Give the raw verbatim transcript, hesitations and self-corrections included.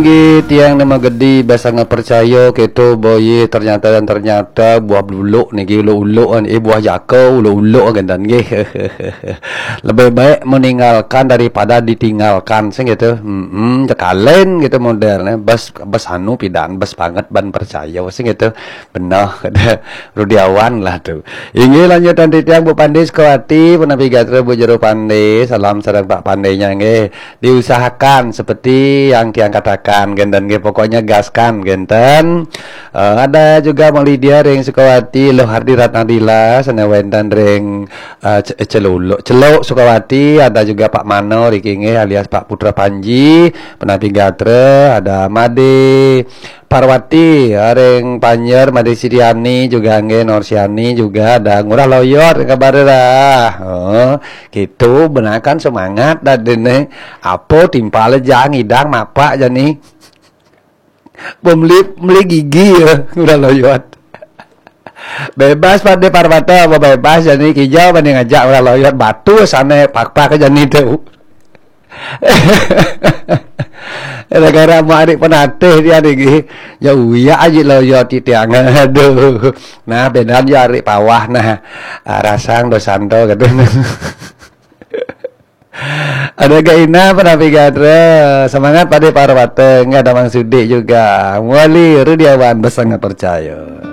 Nggih, tiang nama gedi basa nggak percaya gitu, boye, ternyata dan ternyata buah beluluk niki, uluk-uluk kan, eh, buah jaka, uluk-uluk kan, dan nggih. Lebih baik meninggalkan daripada ditinggalkan, sing gitu. Hmm, cekalen gitu modelnya. Bas, bas anu pidan, bas banget ban percaya, sing gitu. Benar, kata Rudiawan lah tuh. Inggih, lanjutan titiang Bu Pande Sukawati, punapi gatra Bu Jero Pande, salam sareng Pak Pandenya nggih. Diusahakan seperti yang tiang katakan, genten nggih, pokoknya gaskan genten. Eh, ada juga Mak Lydia ring Sukawati, Luh Hardi Ratnadila, sana wenten ring eh, Ce- Celuluk, Celuk Sukawati, ada juga Pak Mano riki nggih alias Pak Putra Panji, punapi gatra, ada Made Parwati, ring Panjer, Made Siriani juga nggih, Norsiani juga, ada Ngurah Loyot, kabar dah. Oh, gitu, benakan semangat dah dene. Apa timpal aja ngidang mapak jani. Pembeli, beli gigi ya, Ngurah Loyot. Bebas Pade Parwata, apa bebas jani, kijau banding aja Ngurah Loyot, batu sana pak-pak jani tuh. Gara-gara mau adik penatih dia nih, ya uya aja lo yo titiang. Aduh. Nah, bedan ya adik pawah nah. Ah, rasang dosanto gitu. Ada Gaina, punapi gatra, semangat Pade Parwata, nggak ada Mang Sudik juga. Wali Rudiawan, basa nggak percaya.